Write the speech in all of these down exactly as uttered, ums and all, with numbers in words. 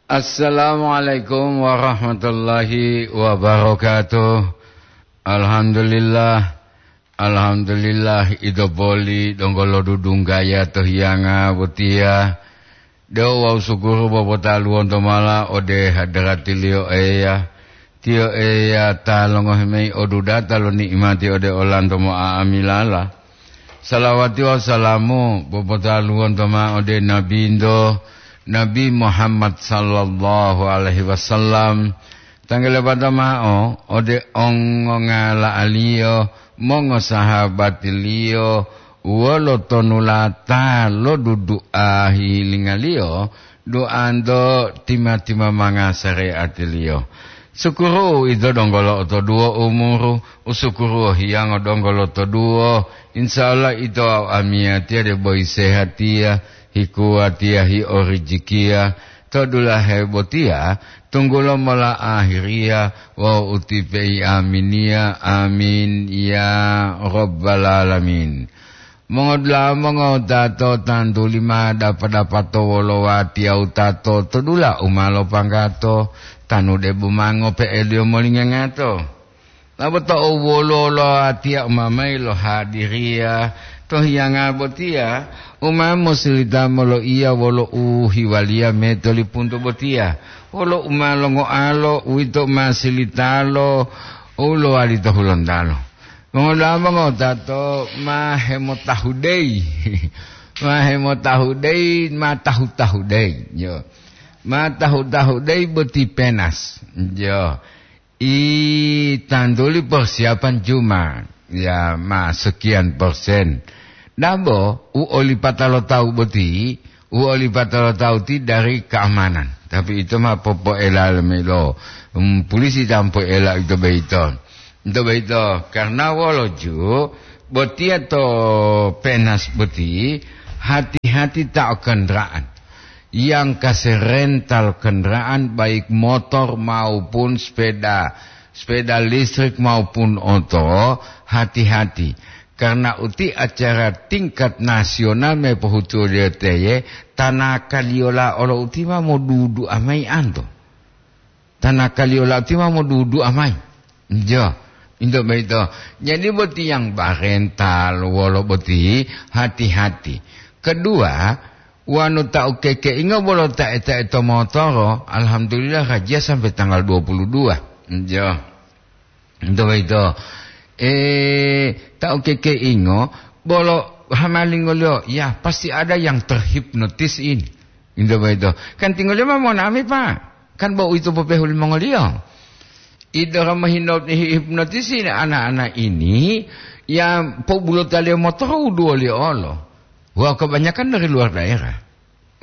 Assalamualaikum warahmatullahi wabarakatuh. Alhamdulillah. Alhamdulillah, ito poli donggo lodudunggaya to hiyanga botiya. De'u wawu sukuru popotaluwonto mala ode hadarati-Liyo Eya. Tiyo Eya ta longohi mayi odudata lo ni'imati ode olanto mo'a'amilala. Salawati wawu salamu popotaluwonto ma'o ode Nabinto, Nabi Muhammad sallallahu alaihi wasallam. Tanggalabata ma'o ode ongongala'aliyo, mongosahabatiliyo, wolo tonulata lo dudu'a hihilingaliyo, du'anto tima-timamanga sare'atiliyo. Sukuru ito donggo lo'otoduwo umuru, usukuru hiyango donggo lotoduwo. Insya Allah ito wawu amiyatiya debo hisehatiya, hikuwatiya, hiorijikiya, to dulahe botiya, tunggulo mola ahiriya wawu utipe'i aminiya. Amin, ya Rabbal Alamin. Mongodula'a mongowutato, tantuli ma dapa-dapato wolo watiya wutato to dula u ma lopanggato, tanu debo ma ngope'eliyo molingangato. Laboto u woluwo lo watiya u ma mayi lohadiriya to hiyanga botiya, u ma mosilita moloiya wolo u hiwaliya metolipuntu botiya, wolo u ma longoalo, uwito u ma silitalo u lowali to hulontalo. Mongodula'a mongowutato ma hemotahudeyi, ma hemotahudeyi, ma tahu-tahudeyi, yo. Ma tahu-tahudeyi boti penas, yo. I tantuli persiapan Jumat, ya, ma sekian persen. Dabo, u olipata lo tawu boti, u olipata lo tawu ti dari keamanan. Tapi ito ma popoela lemelo, mm, polisi ta mopoela ito boyito. Ito boyito, karena wolo ju, botiya to penas boti, hati-hati ta o kendaraan. Yang kasi rental kendaraan, baik motor maupun sepeda, sepeda listrik maupun oto, hati-hati. Karena uti acara tingkat nasional me pohutuliyo teye, tanakaliyola olo uti ma modudu'a mayi anto. Tanakaliyola uti ma modudu'a mayi. Jo, into boyito. Jadi boti yang barental wolo boti, hati-hati. Kedua, wonu ta ukekeingo bolo ta eta-eta motoro, alhamdulillah, rajiya sampai tanggal dua puluh dua. Jo. Into boyito. Eh, ta ukekeingo bolo hamalingoliyo, ya, pasti ada yang terhipnotis ini. Into boyito. Kan tinggoliyo ma monami, Pak. Kan bo uwito popehu limongoliyo. Idora mohino-, hi-, hipnotisi ana-ana ini, ya, pobulotaliyo motoro u duwoliyo olo. Wah, kebanyakan dari luar daerah.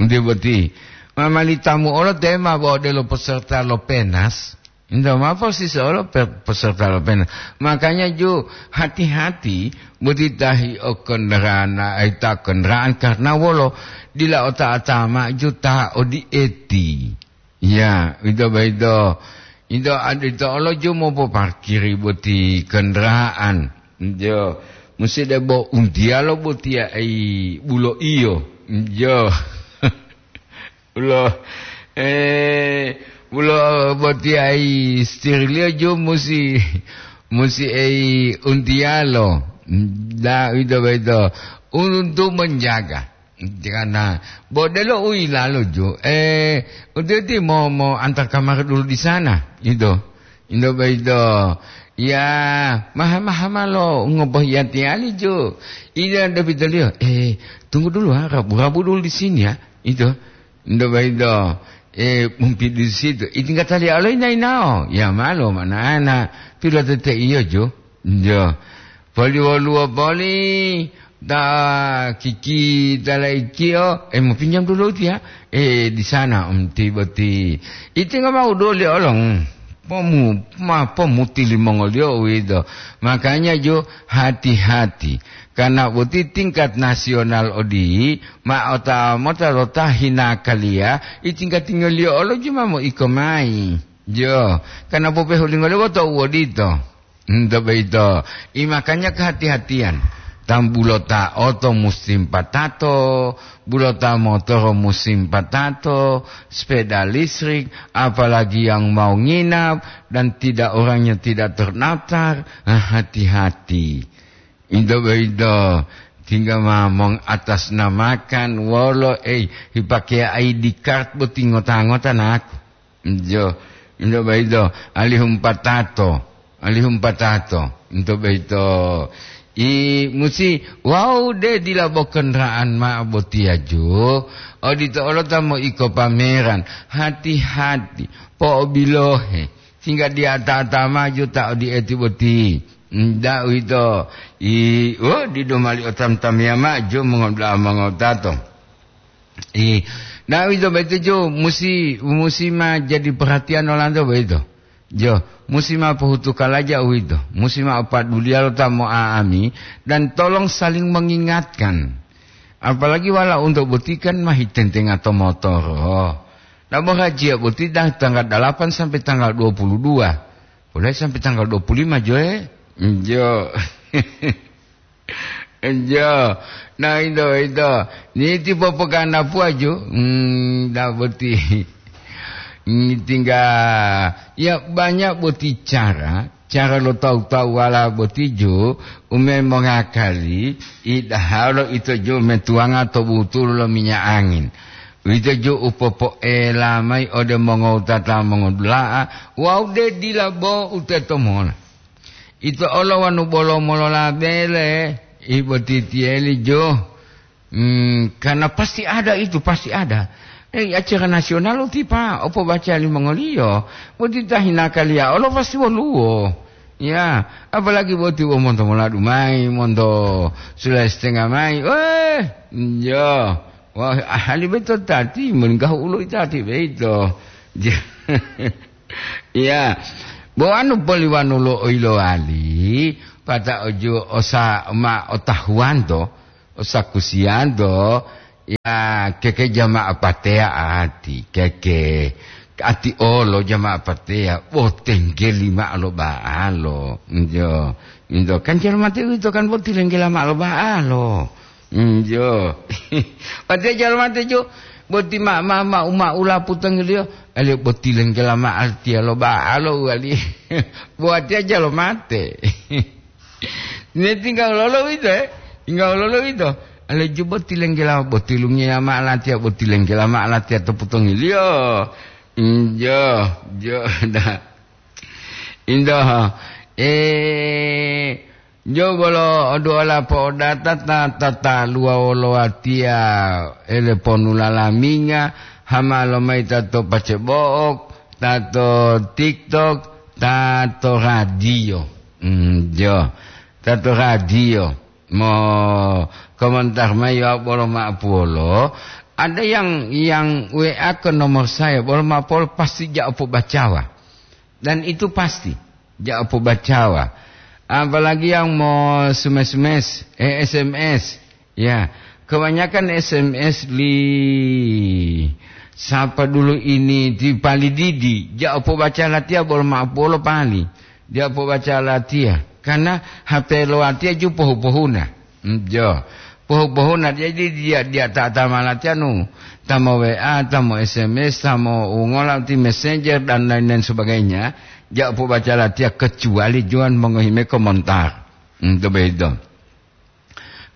Nti boti, ma mali tamu olo te ma bo odelo peserta lo penas. Nto ma posisi olo pe-, peserta lo penas. Makanya ju hati-hati boti tahi o kendaraan, ai ta kendaraan karena wolo dila ota-ata ma ju ta odieti. Ya, ito boyito. Ito ad-, ito olo ju mopoparkiri boti kendaraan. Jo, musi debo untiyalo botiya ei bulo iyo. Jo. Bulo, eh, bulo botiya ei setirliyo ju musi, musi ei untiyalo. Da, ito boyito. Untuk menjaga. Karena bo delo u yilalo ju, eh, uti-uti mo, mo antar kamar dulu di sana, gitu. Indo boyito, ya, maha-maha malo ngopohiyatiyali ju. Ida depitoliyo, eh, tunggu dulu ha, rabu-rabu dulu di sini ya, gitu. Indo boyito, eh, mumpi di situ. Itinggataliya olo ina-inao, ya malo, mana ana, pilotete iyo ju. Jo. Poli woluwo poli ta kiki ta laikiyo, eh, mau pinjam dulu dia. Eh, di sana, om, ti boti. Iti nggak mau doli olong. Pomu-, ma-, pomuti limongoliyo uwito. Makanya jo hati-hati. Karena boti tingkat nasional odi, ma ota mota lo ta hina kaliya, i tingkat tingoliyo olo ju ma mo iko mai. Jo, karena popehulingoliyo boto u odito. Nto boyito, i makanya kehati-hatiyan. Tambulota oto musim patato, bulota motoro musim patato, sepeda listrik, apalagi yang mau nginap dan tidak, orangnya tidak terdaftar, ah, hati-hati. Into boyito, tingga ma mongatasnamakan wolo, eh, hipakeya I D card boti ngota-ngota naku. Jo, into boyito, alihum patato, alihum patato, into boyito. I musi, wau de dila bokenra'an ma'o botiya jo, odito olo ta moiko pameran, hati-hati, po'obilohe, singga diya tata maju ta odieti boti. Nda uwito, i, oh, didu mali otam-tamiya ma'o jo mongoda'a mongotato. I, nah, uwito boyito jo musi, musi ma jadi perhatian olanto boyito. Jo, musi ma pohutu kalaja uwito, musi ma opaduliya lo ta mo'a'ami, dan tolong saling mengingatkan. Apalagi wala unto boti kan ma hitentenga to motoro. Nah, borajiya boti dah tanggal dalapan sampai tanggal dua puluh dua. Boleh sampai tanggal dua puluh lima jo, eh? Jo. Jo. Nah, ito, ito. Niti popoganapuwa jo. Hmm, dah boti. Hmm, tingga, ya, banyak boti cara, cara lo tawu-tawuwala boti jo, ume mongakali, idahalo ito jo metuwanga to butulu lo minyak angin. Uwito jo u popoela mayi ode mongowutata mongodula'a, wawu de dila bo u teto mola. Ito olo wanu bolo molola bele, ibotitiyeli jo. Hmm, karena pasti ada itu, pasti ada. Eh, acara nasional utipa, opo baca limongoliyo, boti tahinakaliya olo pasti woluwo. Ya, apalagi boti wo monto moladu mayi, monto sula setengah mayi. Eh, jo. Wah, ahali beto tati, meninggahu ulo itati beto. Iya. Bo anu poliwanu lo oilowali, pata oju osa ma otahuwanto, osakusiyanto, ya, keke jama'a pateya ati, keke ati olo jama'a pateya, bo tenggeli ma'o lo ba'alo. Njo, njo, kan jalo mate uwito kan bo tilenggela ma'o lo ba'alo. Njo. Watiya jalo mate jo, boti ma, ma, ma, uma ula putongiliyo, aliyo boti lenggela ma'o tiya lo ba'alo wali. Bo watiya jalo mate. Ne tingga lolo wito, eh? Tingga lolo wito. Ale ju boti lenggela, boti lungiya ma'o latiya, boti lenggela ma'o latiya to putongiliyo. Njo, jo, da. Indoho. Eh, jo bolo oduola po'odata ta, ta, ta luwa wolo watiya ele ponu lalaminga, hama lomayi ta to pacebo'ok, ta to TikTok, ta to radio. Hmm, jo. Ta to radio. Mo komentar mayi wawu bolo ma'o puwolo, ada yang, yang W A ke nomor saya, bolo ma'o puwolo pasti ja'o pobacawa. Dan itu pasti, ja'o pobacawa. Apalagi yang mo sumes-sumes, eh, S M S. Ya, kebanyakan S M S li sapa dulu ini ti pali didi, ja'o pobaca latiya bolo ma'o puwolo pali. Dia pobaca latiya, karena H P lo watiya ju pohu-pohuna. Hmm, jo. Pohu-pohuna, jadi dia, dia ta, ta ma latiya nu, ta mo W A, ta mo S M S, ta mo ungola ti Messenger dan lain-lain sebagainya, ja pobaca latiya kecuali juwan mongohi me komentar. Hmm, to bedo.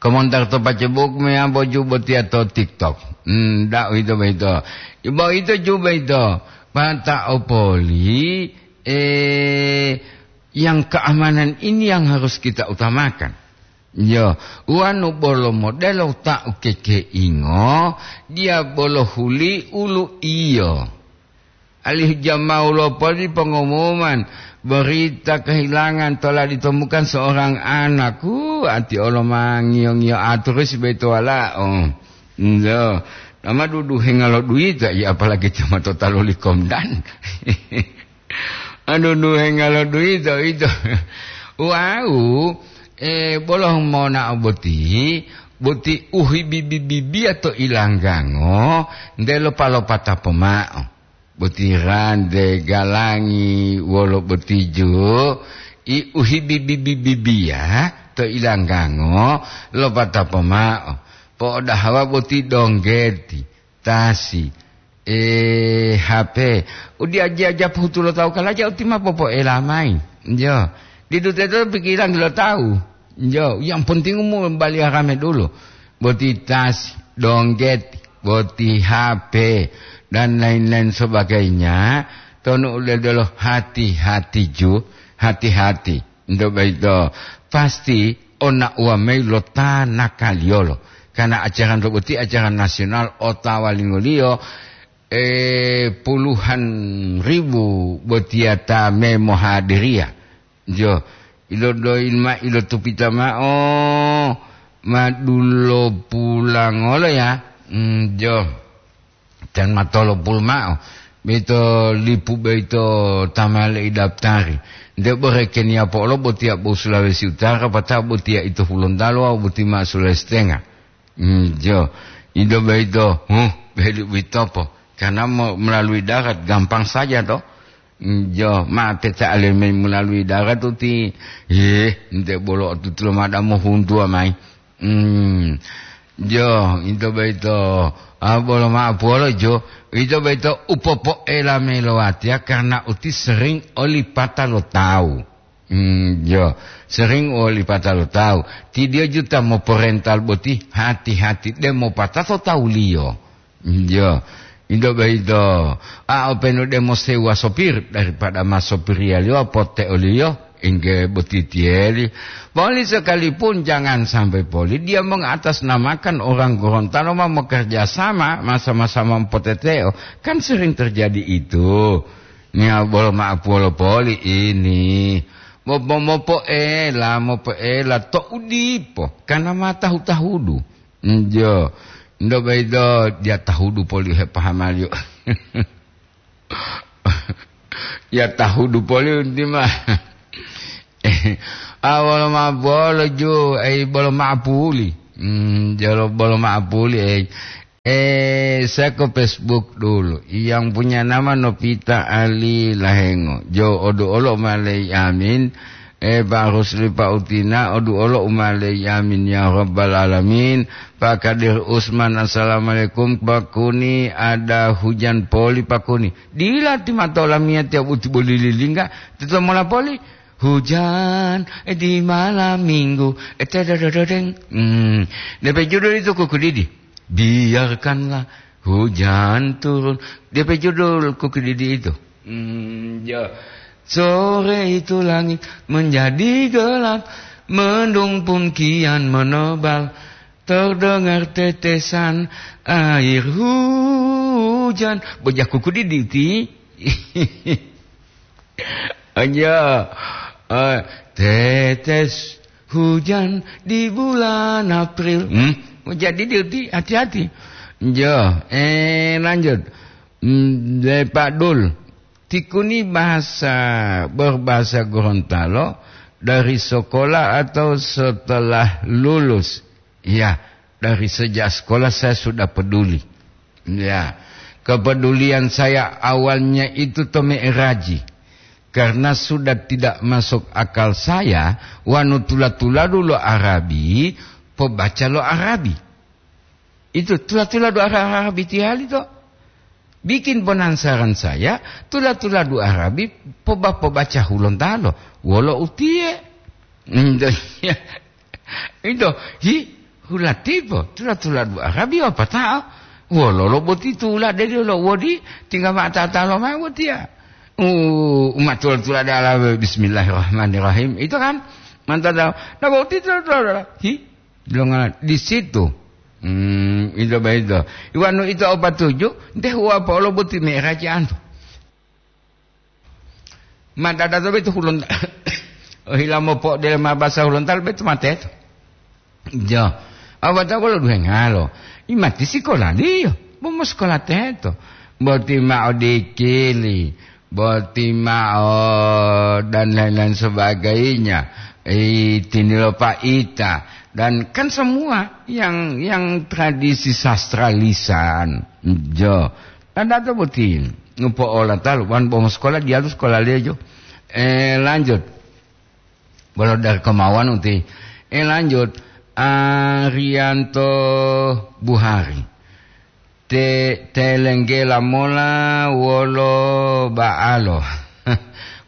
Komentar to Facebook meyambo ju botiya to TikTok. Hmm, ndak uwito boyito. Boyito ju boyito. Pata opoli, eh, yang keamanan ini yang harus kita utamakan. Yo, wanu bolo modelo ta ukekeingo, dia bolo huli ulu iyo. Alih jamau lopoli pengumuman, berita kehilangan telah ditemukan seorang anak. Uh, ati olo mangiyo-ngiyo aturus beto walao. Ndo, nama duduhenga lo duita, ya apalagi cuma totaluli komdan. Anu duhenga lo duita, ito. Wau, eh, bolo monao boti, boti uhibibi-bibiya to ilanggango, ndelo palopata pomao. Boti rante, galangi, wolo boti ju, i uhibibi-bibiya, to ilanggango, lopata pomao. Po'odahawa boti donggeti, tasi, e, H P. Udiaja-aja pohutu lo tawu kalaja uti ma popoela mayi. Jo. Didu teto pikirangi lo tawu. Jo, yang penting umu baliya rame dulu. Boti tasi, donggeti, boti H P, dan lain-lain sebagainya. Tonu uledolo hati-hati ju, hati-hati. Ento boyito pasti ona'uwa mayi lo ta nakaliyolo. Karena acara boti acara nasional otawa lingoliyo, eh, puluhan ribu botiya ta memohadiriya. Jo, ilodoyi ma ilotupita ma'o, ma dulo pulangolo ya. Mm, jo. Ten ma tolopulu ma'o. Boyito lipu boyito ta ma leidaptari. Nte bore Keniya po'olo botiya bo Sulawesi Utara, pata'o botiya ito Hulontalo wawu boti ma Sulawesi Tenga. Mm, jo. Ido boyito, huh, beli uwitopo. Karena mo-, melalui darat gampang saja to. Mm, jo, ma peta aleme melalui darat uti. Yeh, nte bolo otutulo mada mohuntuwa mayi. Hmm. Jo, ito boyito, ah, bolo ma'o puwolo jo, ito boyito u popoela mayi lo watiya karena uti sering olipata lo tawu. Hmm, jo, sering olipata lo tawu. Ti diyo juta moporental boti hati-hati de mopatato tawuliyo. Iyo, ito boyito. A, openu demo sewa sopir daripada ma sopiriyaliyo pote oliyo, engge botitiyeli. Poli sekalipun jangan sampai poli dia mengatasnamakan orang Gorontalo ma mokerja sama, ma sama-sama mopoteteo. Kan sering terjadi itu. Nia bolo ma'apuwolo poli ini. Mo-, mo-, mopoela, mopoela to udipo, karena ma tahu-tahudu. Njo, ndo boyito diya tahudu poli hepahamaliyo. Ya tahudu poli unti ma. Ah, bolo ma bolo ju, eh, bolo ma puli. Hmm, jolo bolo ma puli, eh. Eh, saya ke Facebook dulu. Yang punya nama Novita Ali Lahengo. Jo, odu olo malei amin. Eh, Pak Rusli, Pak Utina, odu olo umalei amin ya rabbal alamin. Pak Kadir Usman, assalamualaikum. Pak Kuni, ada hujan poli, Pak Kuni. Dila ti mata olamiya tiya buti boli lilingga. Tito mola poli. Hujan, eh, di malam minggu. Eh, tedodododeng. Hmm. Depe judul itu kuku didi. Biarkanlah hujan turun. Depe judul kuku didi itu. Hmm, ya. Sore itu langit menjadi gelap, mendung pun kian menebal, terdengar tetesan air hujan. Bojaku kudiditi. Aja, eh, tetes hujan di bulan April. Hmm? Jadi diti hati-hati. Jo, eh, lanjut. Hmm, de Pak Dul. Tikuni bahasa, berbahasa Gorontalo dari sekolah atau setelah lulus? Ya, dari sejak sekolah saya sudah peduli. Ya, kepedulian saya awalnya itu to me'eraji. Karena sudah tidak masuk akal saya, wanu tula-tuladu lo Arabi, pobaca lo Arabi. Itu tula-tuladu Ara-, Arabi tiyali to. Bikin bonansaran saya, tula-tuladu Arabi poba-, pobaca Hulontalo. Wolo utiye? Ndo, iya. Ndo, hi, hulatipo, tula-tuladu Arabi wapatao. Wololo boti tula de lo wodi, tingga ma tatalo ma botiya. U-, umat tula-tuladu ala bismillahirrahmanirrahim. Itu kan, mantap. Nah, boti tula-tuladu. Hi, Dilongala di situ. Hmm, ito boyito. Iwanu ito o patuju, nte huwa po'olo boti me'eraji antu. Ma dada to boyito Hulonta-, ohila mopo'odelo ma basa Hulontalo boyito ma teto. Jo. Awata wolo duhengalo. Imati sikolaliyo. Bo mosikola teto. Boti ma odikili. Boti ma'o, dan lain-lain sebagainya. Eh, tinilo pa'ita. Dan kan semua yang, yang tradisi sastra lisan. Jo. Dan dato boti. Ngupo ola talu. Wan bomo sekolah, dia tu sekolah lejo. Eh, lanjut. Bolo dari kemauan uti. Eh, lanjut, Arianto Buhari. Te-, telenggela mola wolo ba'alo.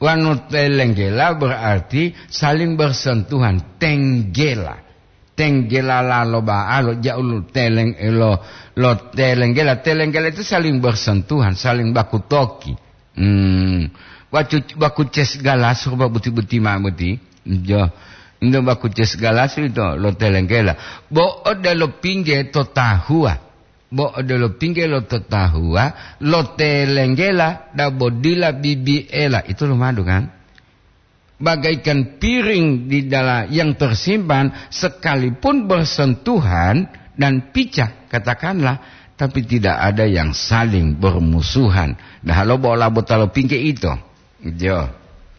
Wanu telenggela berarti saling bersentuhan. Tenggela. Tenggela lalo ba'alo, ja'u lo teleng-, lo, lo telenggela. Telenggela itu saling bersentuhan, saling baku toki. Hmm. Baku, baku ces galas, rupa buti-buti ma buti. Jo. Ndo baku ces galas ito lo telenggela. Bo odelo pingge to tahuwa. Bo odelo pingge lo to tahuwa, lo telenggela, dabo dila bibiela. Itu lumadu, kan? Bagaikan piring di dalam yang tersimpan, sekalipun bersentuhan dan pecah, katakanlah, tapi tidak ada yang saling bermusuhan. Nah, lo bola botalo pingge ito. Jo.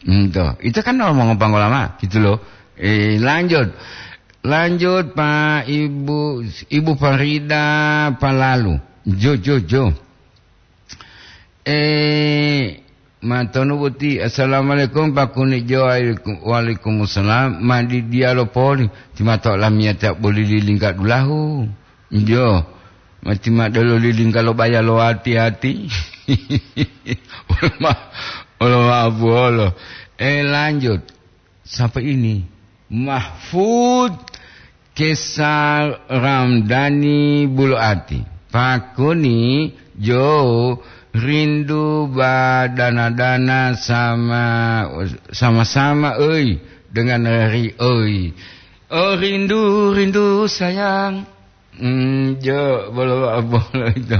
Ento. Itu kan ngomong pangolama, gitu loh. Eh, lanjut. Lanjut, Pak, Ibu, Ibu Farida Palalu. Jo, jo, jo. Eh, matonu boti. Assalamualaikum, Pak Kuni Jo. Waalaikum-, waalaikumsalam. Madi dialo poli. Timato lamiyata boli lilingga dulahu. Jo. Mati madelo lilingga lo baya lo hati-hati. Wolo ma-, wolo ma abuholo. Eh, lanjut. Sapa ini? Mahfud Kesar Ramdhani Bulu'ati. Pakuni Jo rindu badana-dana sama, sama-sama, oi, dengan Ri, oi. Oh, rindu, rindu, sayang. Hmm, Jo, bolo ma'apo lo ito.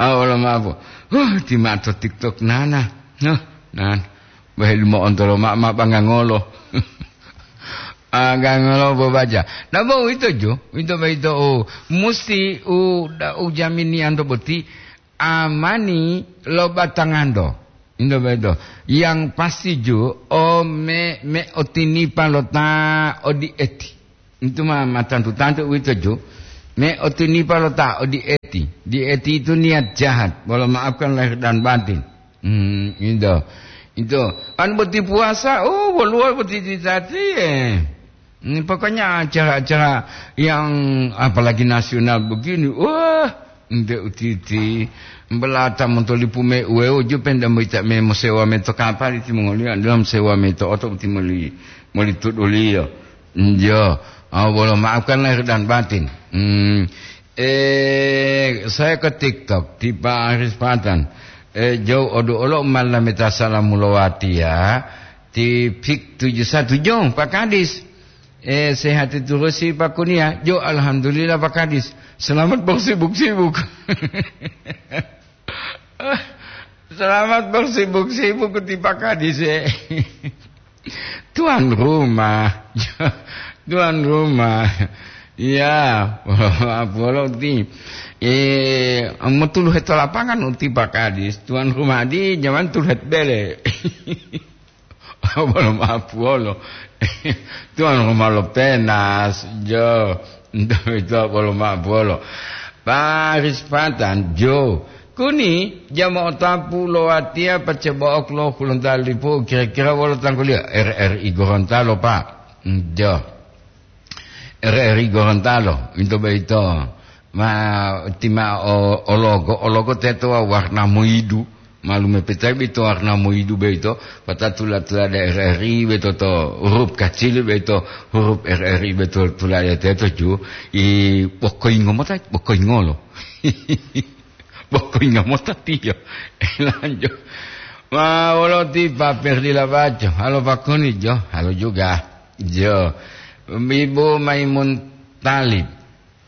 Ah, bolo ma'apo. Huh, ti mato TikTok nana. Huh, nan. Bahil mo ontolo ma, ma bangangolo. Agangolo bo baca. Nah, bo ito Jo, ito ba ito, oh, musti u, da, u jamini anto boti amani lo batanganto. Ito ba ito. Yang pasti Jo, o me, me otinipa lo ta odi eti. Itu ma, ma tantu-tantu uwito, Ju. Me otinipa lo ta odieti. Dieti itu niat jahat, bolo maafkan lahir dan batin. Hmm, itu. Itu. An boti puasa, oh, woluwo boti citati, eh. Hmm, pokoknya acara-acara yang apalagi nasional begini, wah, nte utiti. Belata montolipu me uweo ju penda moita me mosewa me to kapal iti mongoliyo, dalam sewa me to oto uti moli, moli tuduliyo. Njo, ah, bolo maafkan lahir dan batin. Hmm. Eh, saya ke TikTok, ti Pak Aris Patan. Eh, jauh odu olo malameta salamu lowatiya, ti Pik tujuh satu jong, Pak Kadis. Eh, sehat itu rusi Pak Kunia. Jo, alhamdulillah Pak Kadis. Selamat bersibuk-sibuk. Selamat bersibuk-sibuk ti Pak Kadis, eh. Tuan rumah. Tuan rumah. Ya, bolo ti. Eh, metulu heto lapangan uti Pak Kadis. Tuan rumah di zaman tulu het bele. Bolo mapuolo. Tuan rumah lo penas, jo. Itu bolo mapuolo. Paris Patan, jo. Kuni, jama otapu lo watia pacabaok lo Gorontalo lipu, kira-kira wolo tangguliyo? R R I Gorontalo, Pak. Jo. R R I Gorontalo, ito boyito. Ma, tima o, ologo, ologo teto wa warna moidu. Malume petai boyito warna moidu boyito, pata tula-tula da R R I boyito to huruf kacili boyito, huruf R R I boyito tula da teto ju, i bokoingo mota, bokoingolo. Bokoingo mota tiyo. Lanjut. Ma, wolo ti Pak Perdi Labaco. Halo Pak Kuni, jo. Halo juga. Jo. Ibu Maimun Talib.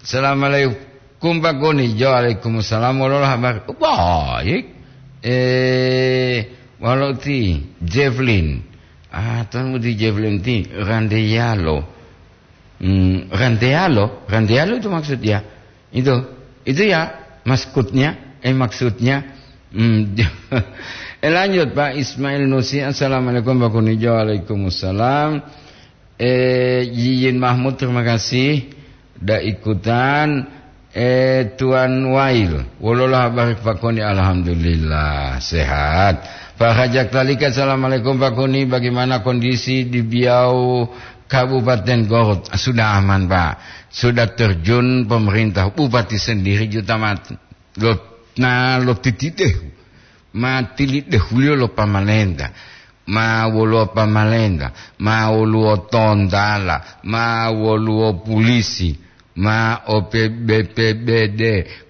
Assalamualaikum Pak Kuni. Jo, waalaikumsalam. Wolo habar. Baik. Eh, wolo ti Jefflin. Ah, tuan ti Jefflin ti Randeyalo. Hmm, Randeyalo, Randeyalo itu maksudnya. Itu, itu ya maksudnya, eh, maksudnya. Hmm, eh, lanjut Pak Ismail Nusi. Assalamualaikum Pak Kunijo. Waalaikumsalam. Eh, Yiyin Mahmud, terima kasih. Da ikutan. Eh, Tuan Wail, wololah habar Pak Kuni? Alhamdulillah, sehat. Pak Hajak Talika, assalamualaikum Pak Kuni, bagaimana kondisi di Biau Kabupaten Garut sudah aman, Pak. Sudah terjun pemerintah, bupati sendiri juta mati. Lo, na lo titidehu. Ma tilidehuliyo lo pamalenta. Ma woluwo pamalenta. Ma woluwo tontala. Ma woluwo polisi. Ma o P B P B D.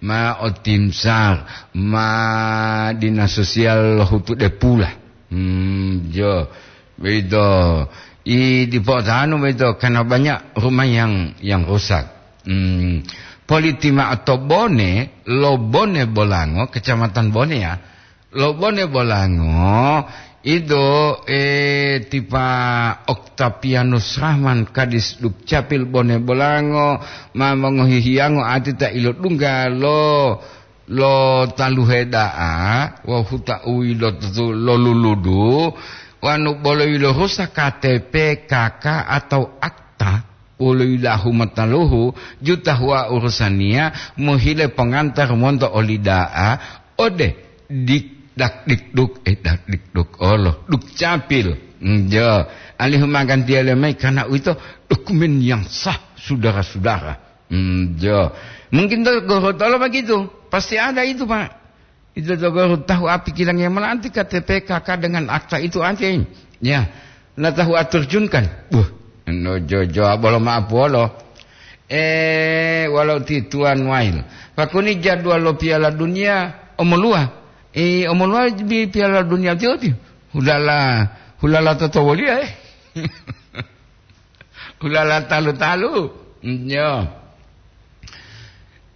Ma o tim sar. Ma dinas sosial hutu depula. Hmm, jo. Begitu. I dipo'otahanu boyito karena banyak rumah yang, yang rusak. Hmm. Politi ma'o to Bone, lo Bone Bolango, Kecamatan Bone ya. Lo Bone Bolango, itu, eh, tipa Oktavianus Rahman, Kadis Dukcapil Bone Bolango, ma mongohi hiyango ati ta ilodungga lo lo taluhe da'a wawu huta u yilotutu lo luludu, wanu bolo yilohusa K T P K K atau akta, wolo yilahu mataluhu juta huwa urusaniya mohile pongantar monto oli da'a ode dik dak dikduk, eh, dak dikduk olo, Dukcapil. Njo, alihu magantiya lemayi karena uwito dokumen yang sah, saudara-saudara. Hmm, jo. Mungkin to Gorontalo begitu. Pasti ada itu, Pak. Itu to Gorontalo tahu api kilang yang mana anti K T P K K dengan akta itu anti. Ya. Nah, tahu atur junkan. Buh. No jo jo bolo maaf bolo. Eh, walau ti tuan wail. Pakuni jadwal lo Piala Dunia omolua. Eh, omolua di Piala Dunia tio ti. Hulala, hulala toto wolia, eh. Hulala talu-talu. Nyo.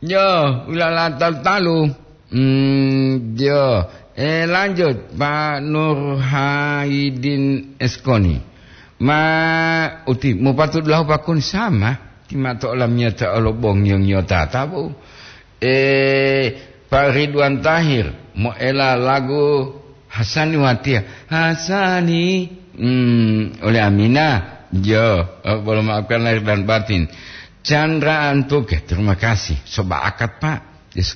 Nyo, hulala talu-talu. Hmm, yo. Eh, lanjut, Pak Nur Haidin Eskoni. Ma uti, mupatu dulahu pakun sama. Ti mato olamiyata olo bong yong yota tabu. Eh, Pak Ridwan Tahir, moela lagu Hasani Watiya. Hasani, hmm, oleh Amina. Jo, eh, bolo maafkan lahir dan batin. Chandra Antuke, terima kasih. Soba akat, Pak. Yes,